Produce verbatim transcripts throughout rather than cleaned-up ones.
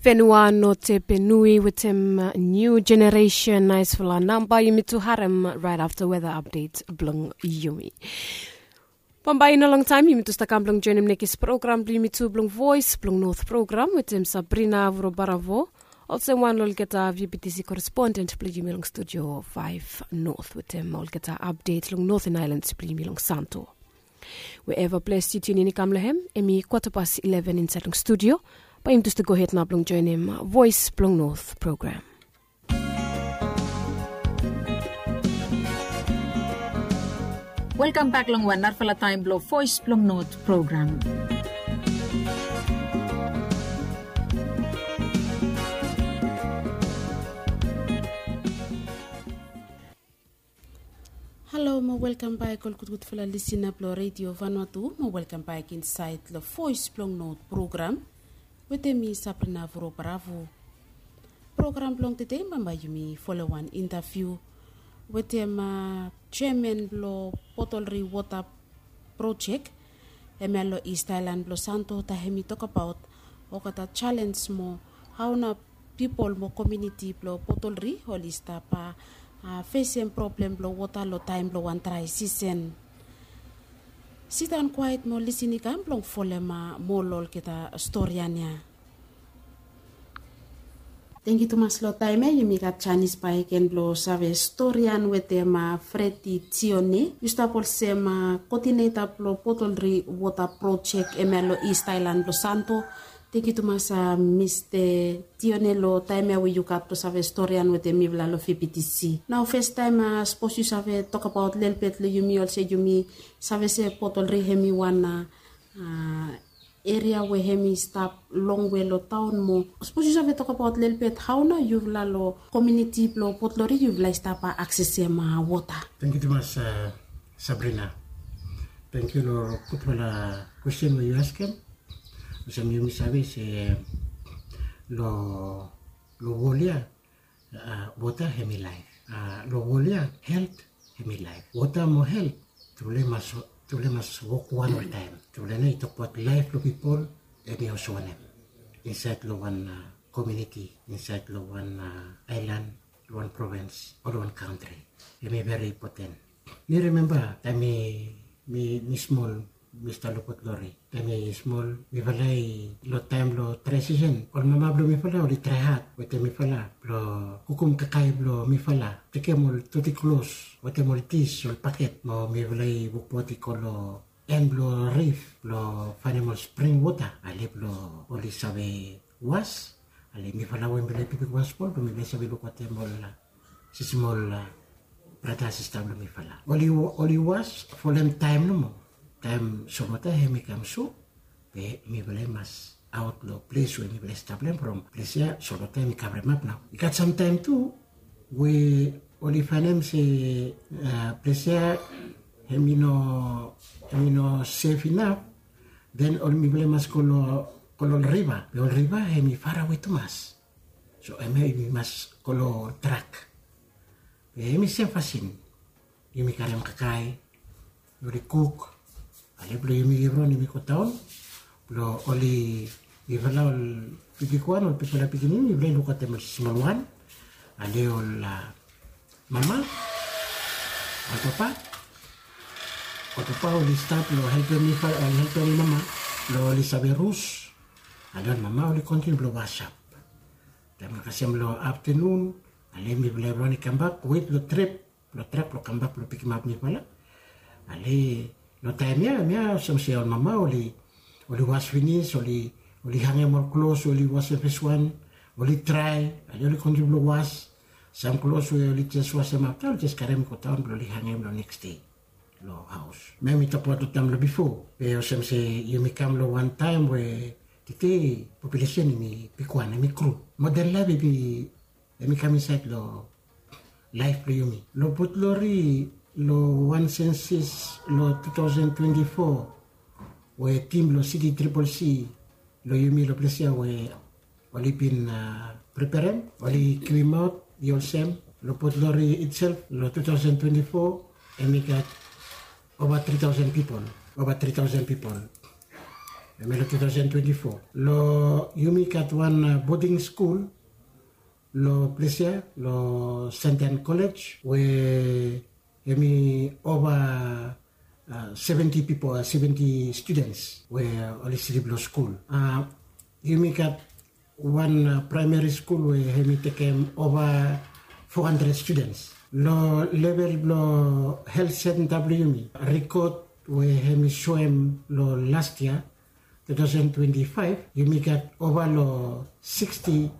Fenua no tepenui wetem niu jeneresen naisfala namba yumi tu harem raet afta weda apdet blong yumi. Bambae i no longtaem yumi tu stap kam blong joenem nekis program blong yumi tu blong voes blong not program wetem sabrina vuro baravo, olsem wan long olgeta vptc koresponden blong yumi long studio faef not wetem olgeta apdet long noten aelans blong yumi long santo. We eva ples yu tiunin i kam long hem em i kwata pas ileven insaed long studio. Bae yumi tu stap gohed nao blong joenem voes blong not program. Welkam bak long wan narafala taem blong voes blong not program. Halo mo welkam bak ol gudgudfala lisina blong redio vanua tu mo welkam bak insaed long voes blong not program. Wetem mi sabrina vuro bravo. Program blong tede bambae yumi folem wan intaviu wetem jeaman blong botolri wota projek, hemia long ist aelan blong santo taem hem i tokbaot olgeta jalens mo hao nao pipol mo komiuniti blong botolri oli stap fesem problem blong wota long taem blong wan drae sisen. Sidaon kwaet mo lisin i kam blong folem moa long olgeta storian ya. Tengiu tumas long taem ya yumi gat janis bakegen blong save storian wetem fredi tione, yu stap olsem koodineta blong botolri wota projek hemia long ist aelan blong santo. Tengiu tumas mista tione long taem ya we yu gat blong save storian wetem mifala long vptc. Nao festaem sapos yu save tokbaot lelebet long yumi olsem yumi save se botolri hem i wan eria we hem i stap longwe long taon moa. Sapos yu save tokbaot lelebet hao nao yufala long komiuniti blong botolri yufala i stap aksesem wota? Tengiu tumas sabrina. Tengiu long gudfala kwesten we yu askem. Olsem yumi save se long wol ya wota hem i laef. Long wol ya helt hem i laef. Wota mo helt tufala i mas wok wan oltaem. Tufala nao i tokbaot laef blong pipol hem i olsem wanem insaed long wan komiuniti, insaed long wan aelan, long wan provens o long wan kantri. Hem i veri impoten. Mi rimemba taem mi smol mi stap long botlori. Taem mi smol mifala i long taem blong drae sisen ol mama blong mifala oli trae had wetem mifala blong kukum kakae blong mifala, tekem ol doti klos wetem ol dis ol baket mo mifala i wokbaot i go long en blong rif blong faenem ol spring wota ale blong oli save was. Ale mifala we mifala i bigwan smol blong mifala i save lukautem ol sismol brata sista blong mifala oli was folem taem nomo. Taem solwota hem i kam sut be mifala i mas aot long ples we mifala i stap long hem from ples ya solwota hem i kavremap nao. I gat samtaem tu we oli faenem se ples ya hem i no sef inap. Den ol mifala i mas go long ol riva be ol riva hem i farawe tumas. So hemia yumi mas go long ol trak be hem i sem fasin. Yumi karem kakae oli kuk ale blong yumi givron yumi godaon blong oli mifala ol bigwan ol bigfala pikinini mifala i lukautem ol smolwan. Ale ol mama ol papa ol papa oli stap long helpem mifala oli helpem ol mama blong oli save rus. Ale ol mama oli kontiniu blong wasap taem kasem long aftanun. Ale mifala evriwan i kambak wet long trep blong trak blong kambak blong pikimap mifala. Ale long taem ya mia olsem se ol mama oli was finis oli hangem ol klos we oli wasem feswan oli drae. Ale oli kontiniu blong was sam klos we oli jes wasem afta oli jes karem i godaon blong oli hangem long neks dei long haos. Mia mi tokbaot long taem long bifo be olsem se yumi kam long wan taem we tede populesen hem i bigwan hem i gru. Moden laef hem i kam insaed long laef blong yumi long botlori long wan sensis long tu taosen twenti fo we tim blong siti tripol c long yumi long ples ya we oli bin preperem oli givimaot i olsem long botlori itself long tu taosen twenti fo hem i gat ova tri taosen pipol. Ova tri taosen pipol Hemia long two thousand twenty-four, long yumi gat wan boding skul long ples ya, long Santan College, we hemi ova seventy pipol, seventy students we oli slip long skul. Yumi gat wan praemari skul we hemi tekem ova four hundred students. Long level blong health center blong yumi, rekod we hemi soem long last yia, two thousand twenty-five, yumi gat ova long sixty,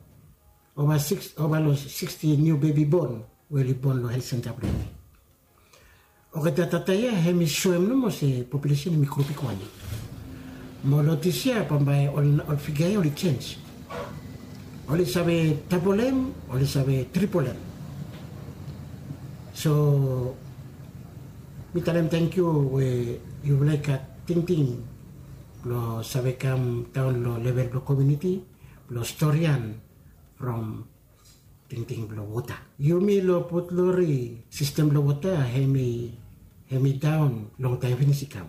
ova long sixty niu bebi bon we oli bon long health center blong yumi. Olgeta data ya hemi soem nomo se populesen hemi gro bigwan. Mo long dis yia bambae ol figa ya oli jenj. Oli save dabolem, oli save tribolem. So mi talem tangkiu we yufala i gat tingting blong save kam daon long level blong komiuniti blong storian from tingting blong wota. Yumi long Port Lori, sistem blong wota hemi daon longtaem finis i kam.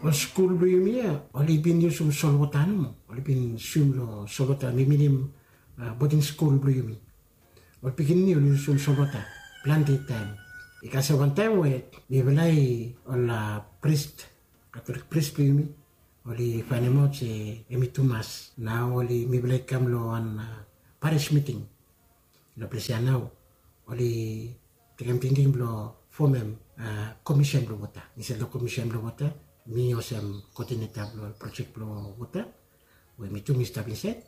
Ol skul blong yumi ya oli bin yusum solwota nomo. Oli bin swim long solwota, mi minim boding skul blong yumi. Ol pikinini oli yusum solwota plante taem. I kasem wan taem we mifala i, ol pris, Katolik pris blong yumi oli faenemaot se hemi tumas. Nao oli, mifala i kam long wan paris miting long ples ya nao. Oli tekem tingting blong fomem komisen blong wota. Insaed long komisen blong wota mi olsem koodineta blong ol projek blong wota we mi tu mi stap insaed.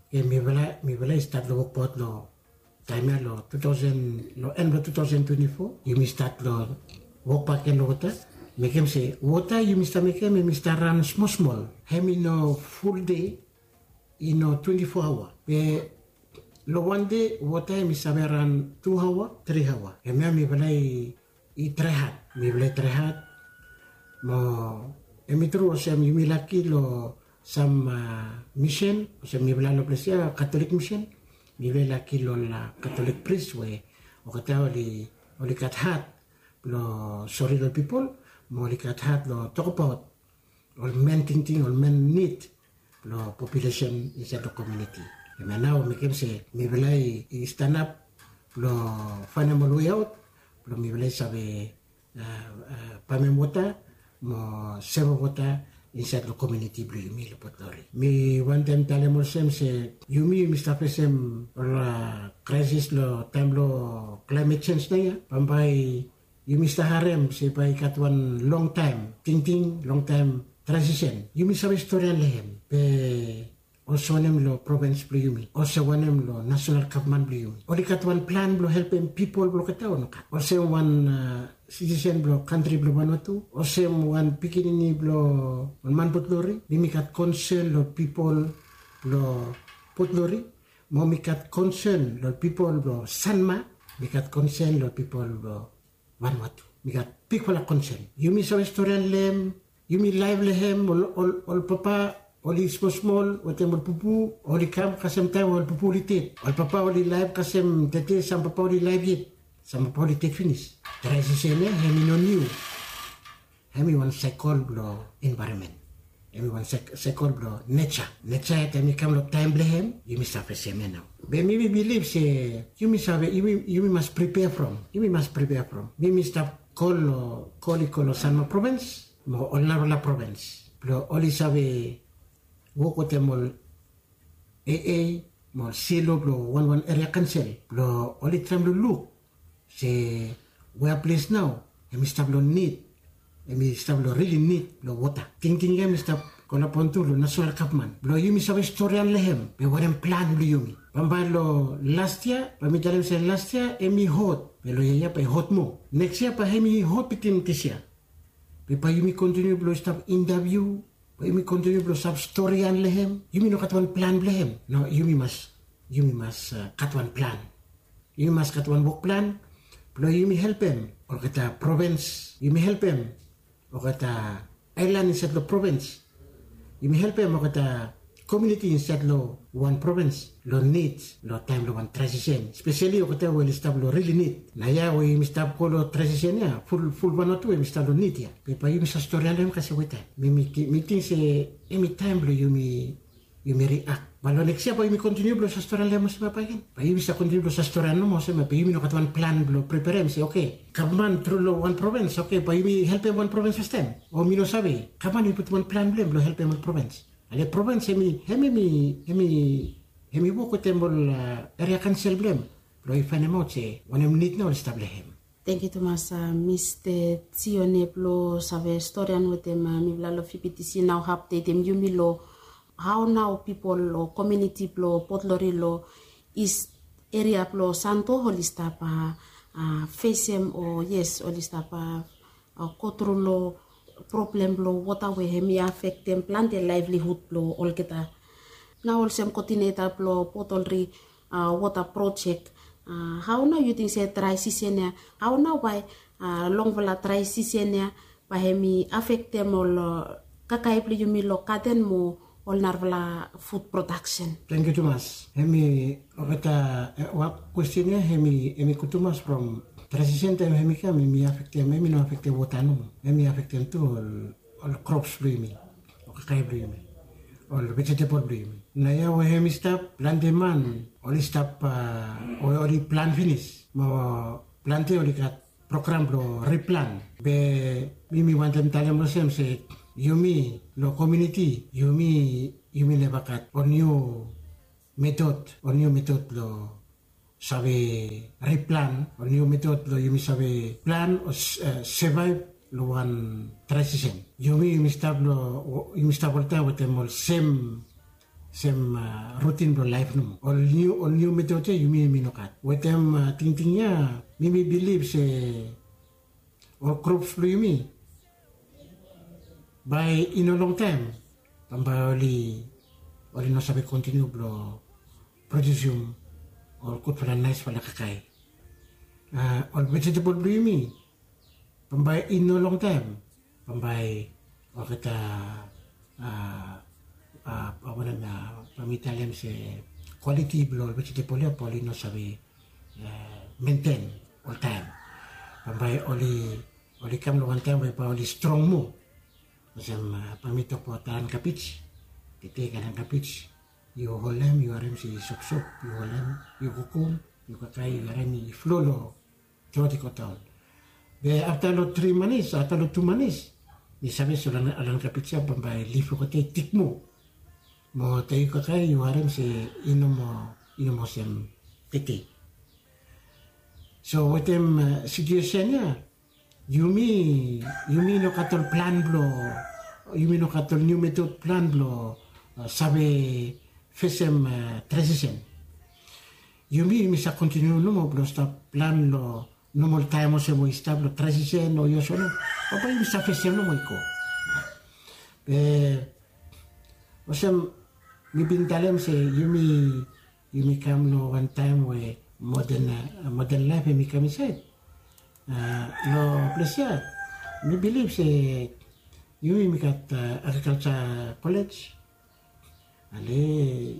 Oke, mifala i stat long wokbaot long taem ya long two thousand, long en blong two thousand twenty-four yumi stat long wokbaot gen long wota. Mekem se wota yumi stap mekem hemi stap ran smolsmol. Hemi no ful dei, i no twenty-four aoa. Be long wan dei wota hemi save ran tu aoa, tri aoa. Hemia mifala i trae had, mifala i trae had. Mo hemi tru olsem yumi laki long sam misen olsem mifala long ples ya Katolik misen. Mifala i laki long ol Katolik pris we olgeta oli gat had blong sori long ol pipol, mo oli gat had long tokbaot ol men tingting, ol men nid blong populesen insaed long komiuniti. Hemia nao mekem se mifala i stanap blong faenem ol weaot blong mifala i save pamem wota mo sevem wota insaed long komiuniti blong yumi long Port Lori. Mi wantem talem olsem se yumi, yumi stap fesem ol kraesis long taem blong klaemet jenj naoia. Bambae yumi stap harem se bae i gat wan longtaem tingting, longtaem transisen. Yumi save storian long hem, be olsem wanem long provins blong yumi? Olsem wanem long nasonal gavman blong yumi? Oli gat wan plan blong helpem pipol blong olgeta o nogat? Olsem wan sitisen blong kantri blong Vanuatu, olsem wan pikinini blong ol man Port Lori, mi mi gat konsen long pipol blong Port Lori, mo mi gat konsen long pipol blong Sanma, mi gat konsen long pipol blong Vanuatu. Mi gat bigfala konsen. Yumi save storian long hem, yumi laef long hem, ol papa oli smolsmol wetem ol pupu, oli kam kasem taem ol pupu oli ded. Ol papa oli laef kasem tede, sam papa oli laef yet, sam papa oli ded finis. Transisen ya hemi no niu. Hemi wan saekol blong envaeronmen. Hemi wan saekol blong neja. Neja ya taem i kam long taem blong hem, yumi stap fesem ya nao. Be mi mi bilif se yumi save, yumi mas pripea from, yumi mas pripea from. Mi mi stap kol long, kol i go long Sanma provins mo ol narafala provins blong oli save wok wetem ol AA mo ol silo blong wanwan eria kaonsel blong oli traem long luk se wea ples nao hemi stap long nid, hemi stap long rili nid blong wota. Tingting ya hemi stap kolaboret tu long nasonal gavman blong yumi save storian long hem be wanem plan blong yumi. Bambae long las yia bae mi talem se las yia hemi hot, be long yia ya bae i hot moa. Neks yia bae hemi hot bitim dis yia. Be bae yumi kontiniu blong stap intaviu, bae yumi kontiniu blong stap storian long hem. Yumi no gat wan plan blong hem. No, yumi mas, yumi mas gat wan plan. Yumi mas gat wan wok plan blong yumi helpem olgeta provins. Yumi helpem olgeta aelan insaed long provins. Yumi helpem olgeta komiuniti insaed long wan provins long nid long taem blong wan transisen, speseli olgeta we oli stap long rili nid. Na ya we yumi stap go long transisen ya, ful ful wan o tu em i stap long nid ya. Be bae yumi save stori long hem kasem weta mi mi ting se em i taem blong yumi yumi riak. Bae long neks yia bae yumi kontiniu blong save stori long hem olsem ya bae gen, bae yumi save kontiniu blong save stori long hem nomo olsem ya bae yumi no gat wan plan blong preperem se oke, gavman tru long wan provins, oke, bae yumi helpem wan provins fastaem. O mi no save, gavman i putum wan plan blong hem blong helpem ol provins. Ale provins hem i hem i hem i hem i wok wetem ol eria kaonsel blong hem blong i faenemaot se wanem nid nao oli stap long hem. Tengiu tumas, mista tione blong save storian wetem mifala long fibitisi nao hapdetem yumi long hao nao pipol o komiuniti blong potlori long is eria blong santo oli stap fesem o yes oli stap gotru long problem blong wota we hem i afektem plante laevlihud blong olgeta. Nao olsem koodineta blong potlori wota projek, hao nao yu ting se drae sisen ya, hao nao bae longfala drae sisen ya bae hem i afektem ol kakae blong yumi long gaden mo ol narafala fud prodaksen? Tengiu tumas. Hem i olgeta wok kwesten ya hem i hem i gud tumas from drae sisen taem hem i kam hem i afektem hem i no afektem wota nomo, hem i afektem tu ol ol krops blong yumi, ol kakae blong yumi, ol vejetebol blong yumi. Nao ya we hem i stap plante man oli stap we oli plan finis mo plante oli gat program blong riplan. Be mi mi wantem talem olsem se yumi long komiuniti yumi yumi neva gat ol niu metod ol niu metod blong save riplan ol niu metod blong yumi save plan o sevaev long wan drae sisen. Yumi yumi stap long yumi stap oltaem wetem ol sem sem rutin blong laef nomo. Ol niu ol niu metod ya yumi yumi no gat wetem tingting ya. Mi mi bilif se ol krops blong yumi bae i no longtaem bambae oli oli no save kontiniu blong prodiusim ol gudfala naesfala kakae. Ol vejetebol blong yumi bambae i no longtaem bambae olgeta wanem ya bae mi talem se kwaliti blong ol vejetebol ya bae oli no save menten oltaem. Bambae oli oli kam long wantaem we bae oli strong moa. Olsem bae mi tokbaot alan kabij. Tete alan kabij yu holem yu harem se i sopsop, yu holem yu kukum, yu kakae yu harem i flo long trot i go daon. Be afta long tri manis afta long tu manis mi save se alan kabij ya bambae lif olgeta i tik moa. Mo taem yu kakae yu harem se i no moa i no moa olsem tete. So wetem situesen ya yumi yumi no gat ol plan blong yumi no gat ol niu metod plan blong save fesem transisen. Yumi yumi save kontiniu nomo blong stap plan long nomol taem olsem we i stap long transisen o i olsem no bambae yumi save fesem nomo i go. Be olsem mi bin talem se yumi yumi kam long wan taem we moden moden laef hem i kam insaed. Long ples ya mi bilif se yumi yumi gat agrikalsa kolej. Ale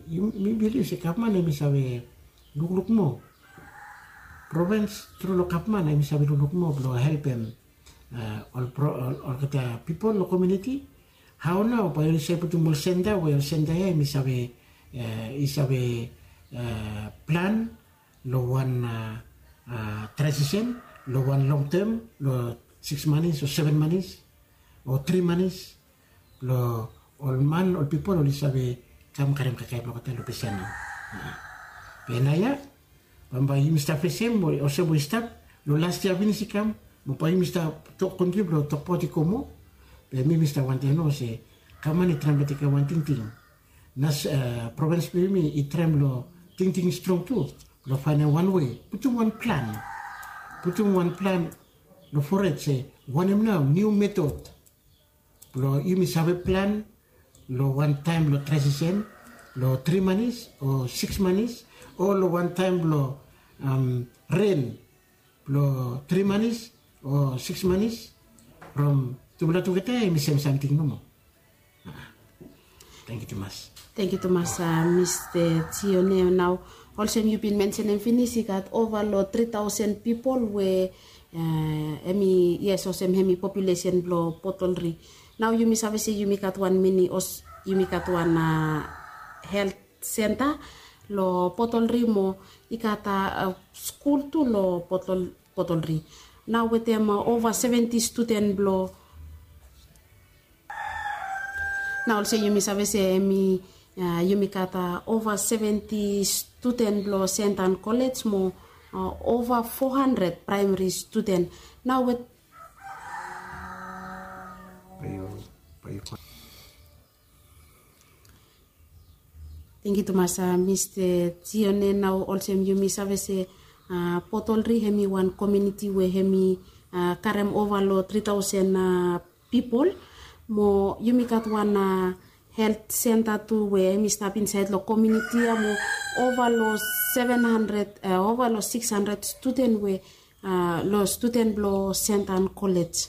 mi bilif se gavman hem i save lukluk moa provens tru long gavman hem i save lukluk moa blong helpem olgeta pipol long komiuniti. Hao nao bae yu save putum ol senta we ol senta ya hem i save i save plan long wan transisen long wan longtem long siks manis o seven manis o tri manis blong ol man ol pipol oli save kam karem kakae blong olgeta long ples ya nao. Be nao ya bambae yumi stap fesem olsem we i stap long las yia finis i kam mo bae yumi stap tok kontiniu blong tokbaot i go moa. Be mi mi stap wantaem nao se gavman i traem blong tekem wan tingting na provens blong yumi i traem long tingting strong tu blong faenem wan wei putum wan plan putum wan plan long fored se wanem nao niu metod blong yumi save plan long wan taem blong transisen long tri manis o siks manis o long wan taem blong ren blong tri manis o siks manis from tufala tugeta hem i sem samting nomo. Tengiu tumas. Tangkiu tumas, Mista Tione. Nao olsem yu bin mensenem finis, i gat ova long tri taosen pipol we em i, yes, olsem em i populesen blong Potolri. Nao yumi save se yumi gat wan mini, yumi gat wan helt senta long Potolri mo i gat skul tu long Potolri. Nao wetem ova seventi studen blong Nao olsem yumi save se em i, yumi gat ova seventi studen blong Sentan Kolej mo ova fo handred praemari studen. Nao wet Tangkiu tumas, Mista Tione. Nao olsem yumi save se Potolri em i wan komuniti we em i karem ova long tri taosen pipol. Mo yumi gat wan helt senta tu we em i stap insaed long komuniti ya mo ova long seven handred, ova long sikis handred studen we long studen blong Sentan Kolej.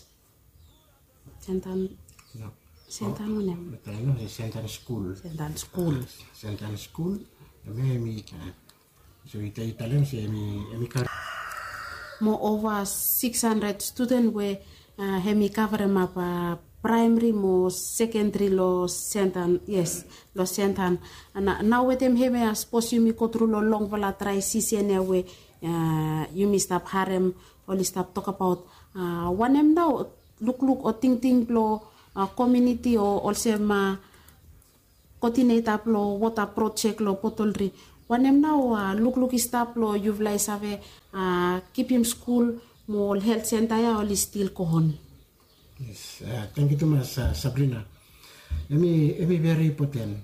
Sentan, Sentan wanem? Sentan skul. Sentan skul. Sentan skul. Em i, so i talem se em i, em i karem mo ova sikis handred studen we em i kavremap praemari mo sekendari long Sentan, yes, long Sentan. Nao wetem em ya, sapos yumi go tru long longfala drae sisen ya we yumi stap harem oli stap tokbaot wanem nao lukluk o tingting blong komuniti o olsem koodineta blong wota projek long Potolri. Wanem nao lukluk i stap blong yufala i save kipim skul mo ol helt senta ya oli stil go on? Yes, tangkiu tumas, Sabrina. Em i, em i veri impoten.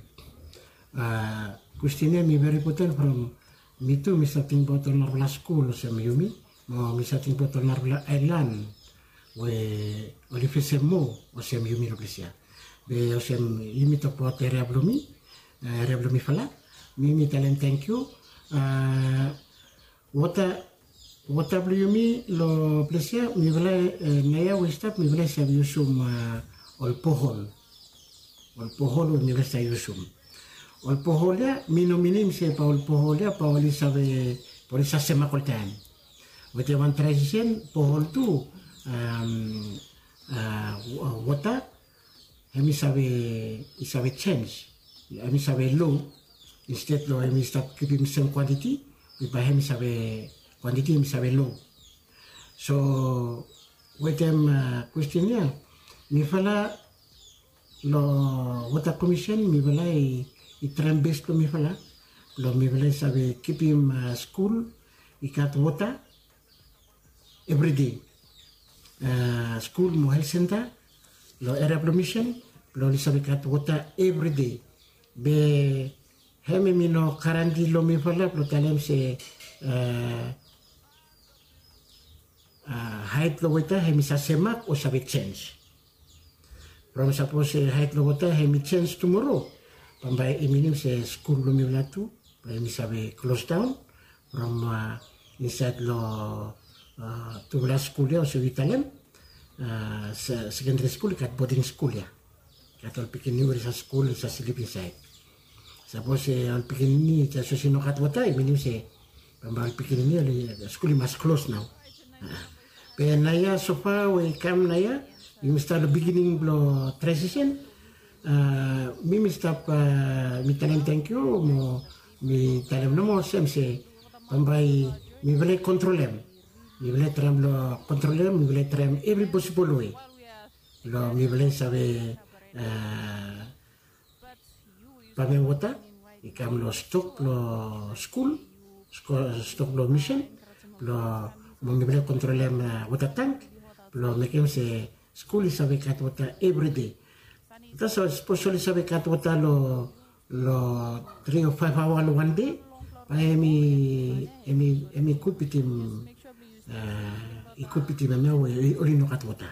Kwestin ya em i veri impoten from mi tu mi save tingbaot ol narafala skul olsem yumi, mo mi save tingbaot ol narafala aelan we oli fesem moa olsem yumi long ples ya. Be olsem yumi tokbaot eria blong mi, eria blong mifala, mi mi talem tangkiu. Wota, wota blong yumi long ples ya, mifala naoia we i stap mifala i save yusum ol bohol. Ol bohol we mifala i save yusum. Ol bohol ya mi no minim se bae ol bohol ya bae oli save, bae oli save semak oltaem. Wetem wan drae sisen bohol tu, wota em i save, i save jenis, em i save lo. Insted long em i stap kipim sem kwantiti, bae em i save, kwantiti em i save lo. So wetem kwestin ya, mifala long Wota Komisen mifala i traem bes blong mifala blong mifala i save kipim skul i gat wota evride. Skul mo helt senta long eria blong Misen blong oli save gat wota evride. Be hem hem i no garanti long mifala blong talem se haet blong wota hem i save semak o save jenis. From sapos haet blong wota hem i jenis tumoro, bambae i minim se skul blong mifala tu bae hem i save klosdaon from insaed long tufala skul ya olsem yu talem, sekendari skul i gat boding skul ya. Gat ol pikinini we oli save skul oli save slip insaed. Sapos ol pikinini i jes olsem i no gat wota i minim se bambae ol pikinini oli, skul i mas klos nao. Be naoia sofa we i kam naoia, yumi stap long biginin blong drai sisen. Mi mi stap, mi talem tangkiu mo mi talem nomo olsem se bambae mifala i kontrolem. Mifala i traem long kontrolem, mifala i traem evri posibol we long mifala i save pamem wota i kam long stok blong skul, stok blong Misen blong, mo mifala i kontrolem wota tang blong mekem se skul i save gat wota evride. Tasol sapos oli save gat wota long, long tri o faef aoa long wan dei, bae hem i, hem i, hem i gud bitim, i gud bitim hemia we oli no gat wota.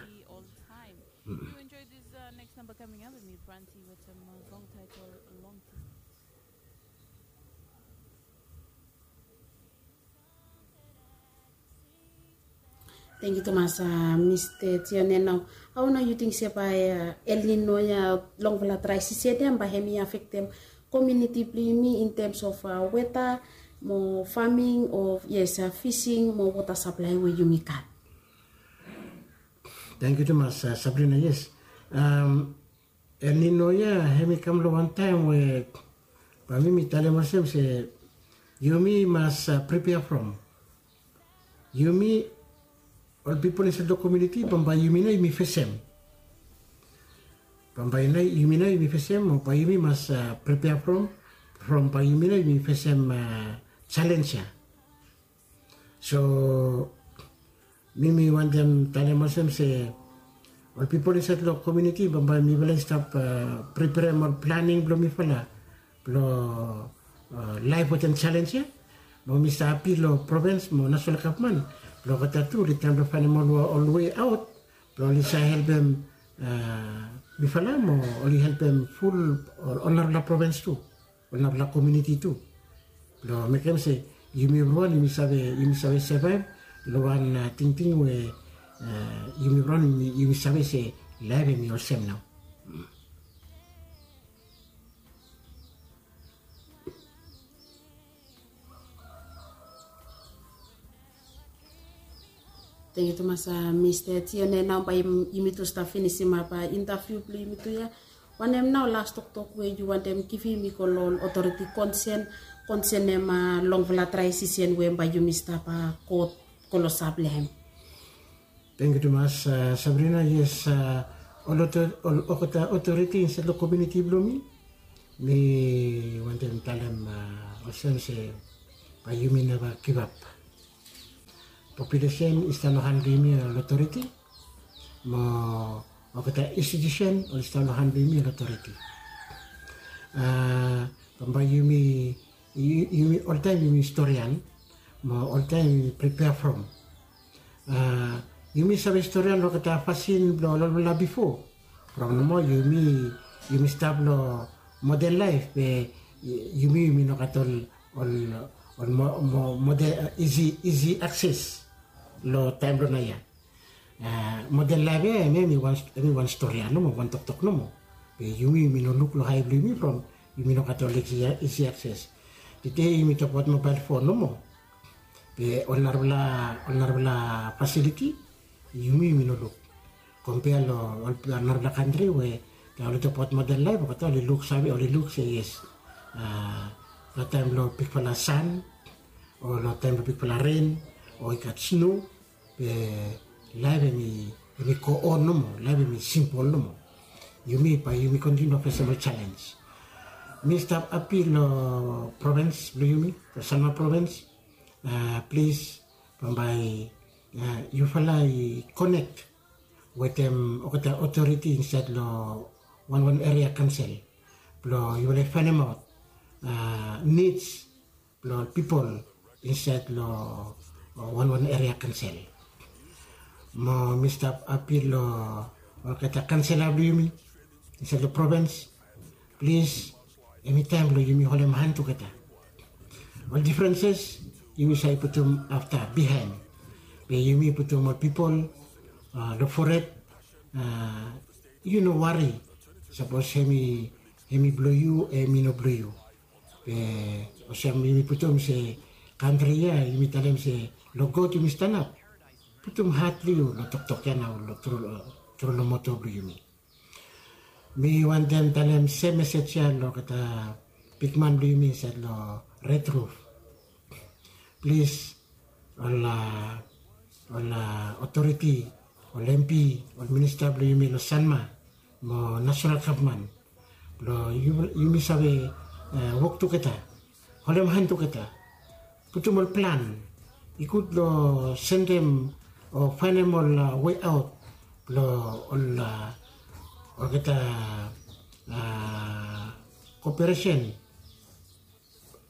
Tangkiu tumas, Mista Tione. Nao hao nao yu ting se bae El Nino ya, longfala drai sisen ya, bae hem i afektem komiuniti blong yumi in tems of weta mo faming o yes, fising mo wota saplai we yumi gat. Tangkiu tumas, Sabrina. Yes. El Nino ya hem i kam long wan taem we bae mi mi talem olsem se yumi mas prepea from. Yumi ol pipol insaed long komiuniti bambae yumi nao yumi fesem. Bambae nao yumi nao yumi fesem o bae yumi mas prepea from, from bae yumi nao yumi fesem jalenj ya. So mi mi wantem talem olsem se ol pipol insaed long komiuniti bambae mifala i stap preperem ol planing blong mifala blong laef wetem jalenj ya. Mo mi stap apil long provens mo nasonal gavman blong olgeta tu oli traem blong faenem ol wei aot blong oli save helpem mifala mo oli helpem ful ol narafala provens tu, ol narafala komiuniti tu, blong mekem se yumi evriwan yumi save, yumi save sevaev long wan tingting we yumi evriwan yumi save se laef hem i olsem nao. Tangkiu tumas, Mista Tione. Nao bae yumi tu stap finisimap intaviu blong yumi tu ya. Wanem nao las toktok we yu wantem givim i go long ol otoriti konsen, konsenem longfala drae sisen we bae yumi stap go klosap long hem? Tangkiu tumas, Sabrina. Yes, ol olgeta otoriti insaed long komiuniti blong mi, mi wantem talem olsem se bae yumi neva givap. Populesen i stap long han blong yumi ol otoriti, mo olgeta institusen oli stap long han blong yumi ol otoriti. Bambae yumi, yumi oltaem yumi storian mo oltaem yumi prepea from. Yumi save storian long olgeta fasin blong ol olfala bifo. From nomo yumi, yumi stap long moden laef be yumi yumi no gat ol, ol, ol moden isi, isi akses long taem blong naoia. Moden laef ya hem i wan stori ya nomo, wan toktok nomo. Be yumi yumi no luk long hae blong yumi from yumi no gat ol isi akses. Tede yumi tokbaot mobael fon nomo. Be ol narafala, ol narafala fasiliti yumi yumi no luk. Kompea long ol narafala kantri we taem oli tokbaot moden laef olgeta oli luksave, oli luk se yes, long taem blong bigfala san o long taem blong bigfala ren o i gat sno, be laef hem i go on nomo, laef hem i simpol nomo. Yumi bae yumi kontiniu long fesem ol jalenj. Mi stap apil long provens blong yumi, long Sanma provens, plis bambae yufala i konek wetem olgeta otoriti insaed long wanwan eria kansel blong yufala i faenemaot nids blong ol pipol insaed long wanwan eria kansel. Mo mi stap apil long olgeta kansela blong yumi insaed long provens, plis hem i taem blong yumi holem han tugeta. Ol difrenses yumi save putum afta bihaen, be yumi putum ol pipol long fored. Yu no wari sapos hem i, hem i blong yu o hem i no blong yu. Be olsem yumi putum se kantri ya yumi talem se long God yumi stanap. Putum hat blong yu long toktok ya nao long tru, tru long moto blong yumi. Mi wantem talem sem mesej ya long olgeta bigman blong yumi insaed long Red Roof. Plis ol, ol otoriti, ol MP, ol minista blong yumi long Sanma mo nasonal gavman blong yumi save wok tugeta, holem han tugeta, putum ol plan. I gud long sendem o faenem ol wei aot blong ol olgeta koperesen,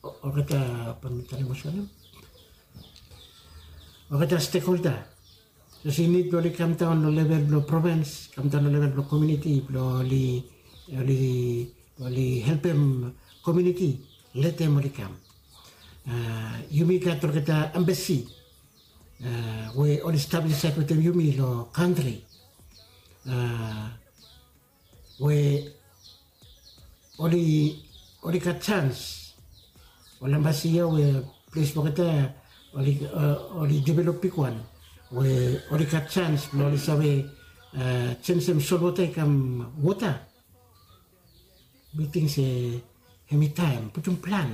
olgeta, bae mi talem olsem, olgeta stekholda. Sapos i nid blong oli kamdaon long level blong provens, kamdaon long level blong komiuniti blong oli, oli, oli helpem komiuniti, letem oli kam. Yumi gat olgeta embasi we oli stap insaed wetem yumi long kantri we oli, oli gat sans, ol embasi ya we ples blong olgeta oli develop bigwan, we oli gat sans blong oli save jenisim solwota i kam wota. Mi ting se hem i taem putum plan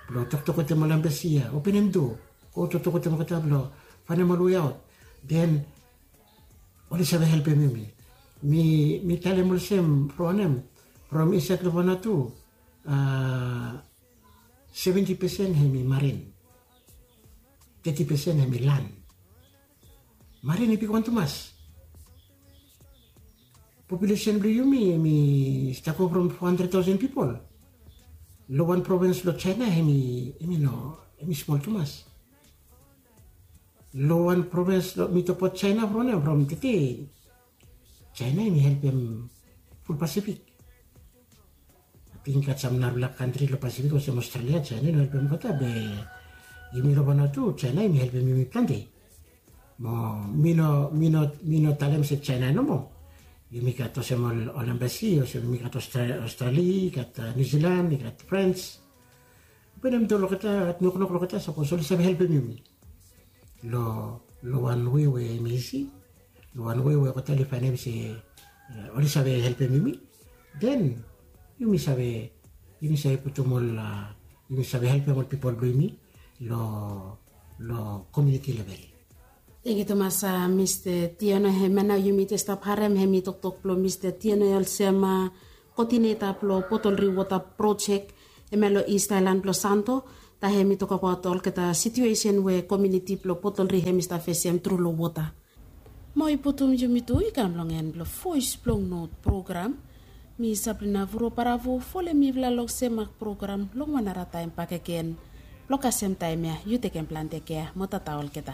blong toktok wetem ol embasi ya, openem do, go toktok wetem olgeta blong fanem ol we aot. Den oli save helpem yumi. Mi talem olsem from wanem, from insait long vanatu, seventi pesen hem i marin, teti pesen hem i lan. Marin i bigwan tumas. Populesen blong yumi hem i stap go from fo handred taosen pipol. Long wan provens long jaena hem i no, hem i smol tumas. Long wan provens long mi tokbaot jaena from wanem, from tete, jaena hem i helpem ful pasifik. Ating i gat sam narafala kantri long pasifik olsem australia, jaena i no helpem olgeta be yumi long vanatu jaena hem i helpem yumi plante. Mo mi no mi no mi no talem se jaena nomo. Yumi gat olsem ol embasi olsem yumi gat australia, i gat niusilan, i gat frans. Benem do long olgeta, noknok long olgeta sapos oli save helpem yumi. Long wan we we hem i isi, long wan we we olgeta oli faenem se oli save helpem yumi, den yumi save yumi save putum ol yumi save helpem ol pipol blong yumi long komiuniti level. Tengiu tumas mista tiano. Hemia nao yumi jes stap harem hem i toktok blong mista tiano ya olsem koodineta blong botol riwota projek, hemia long ist aelan blong santo. Taem hem i tokabaot olgeta situesen we komiuniti blong botol ri hem i stap fesem tru long wota. Mo i putum yumi tu i kam long en blong voes blong not program. Mi sabrina vuro baravo folem mifala long semak program long wan narataem bakegen. Blong kasem taem ya yu tekem plante kea mo tata olgeta.